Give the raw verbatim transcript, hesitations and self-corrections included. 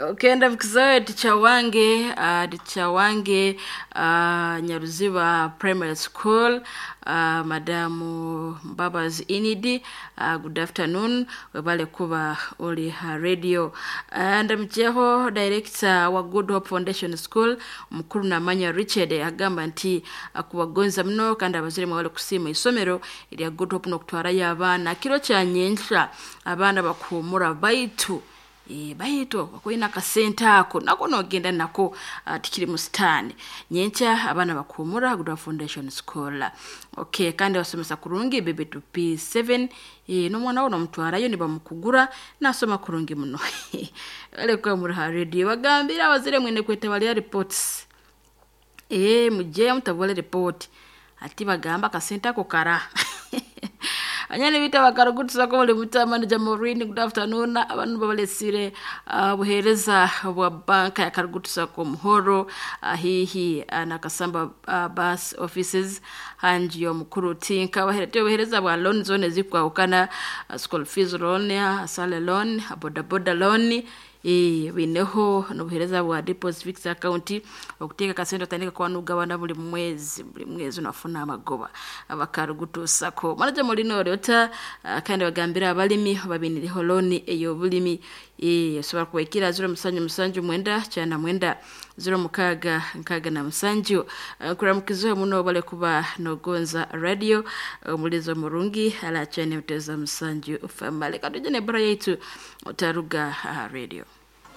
Okenda mkizoe ticha wange uh, ticha wange uh, Nyaruziba Primary School, uh, Madamu Mbabazi Inidi, uh, good afternoon, webale kuba oli ha radio. uh, ndamukyeho director wa Good Hope Foundation School mukuru Namanya Richard, agamba nti akubagonza muno kandi abazire mwebale kusiima isomero erya Good Hope n'okutwarayo abaana kiro kya nyenkya abaana bakuhumura baitu e, baitu wakwina akasente ako nako nogenda nako uh, tikiri musitani nyenkya abaana bakuhumura Good Hope Foundation School. Okay, kandi basomesa kurungi bebe to P seven, e, n'omwana wo nomutwarayo nibamukugura nasoma kurungi muno. Alekuwa muri ha radio bagambira abazire mwene kweta bali reports, e, muje mutabole report ati bagamba akasente ako kara. Anyani bita bakarugutusa ko buli mutama ni Jamorini, good afternoon. Abantu babalesire uh, buhereza bwa banka ya Karugutusa ko muhoro uh, hihi uh, na Kasamba uh, bus offices hanji yo mukuru tinka baherete buhereza bwa loan zone zikwahukana, uh, school fees loan, asale loan, boda boda loan, e, bineho n'obuhereza bwa deposit fixed account okuteeka kasente otandika kuba n'ogabana buli mwezi buli mwezi onafuna amagoba abakarugutuusako manaja mulino oryota. uh, kandi bagambira abalimi babinireho looni ey'obulimi, e, osobola kubaikira ziro musanju musanju mwenda kyana mwenda ziro mukaaga nkaaga na musanju. uh, nkuramukizeho muno bale kuba nogonza radio omulizo murungi alakyane muteza musanju famale katuje nebora yaitu otaruga uh, radio.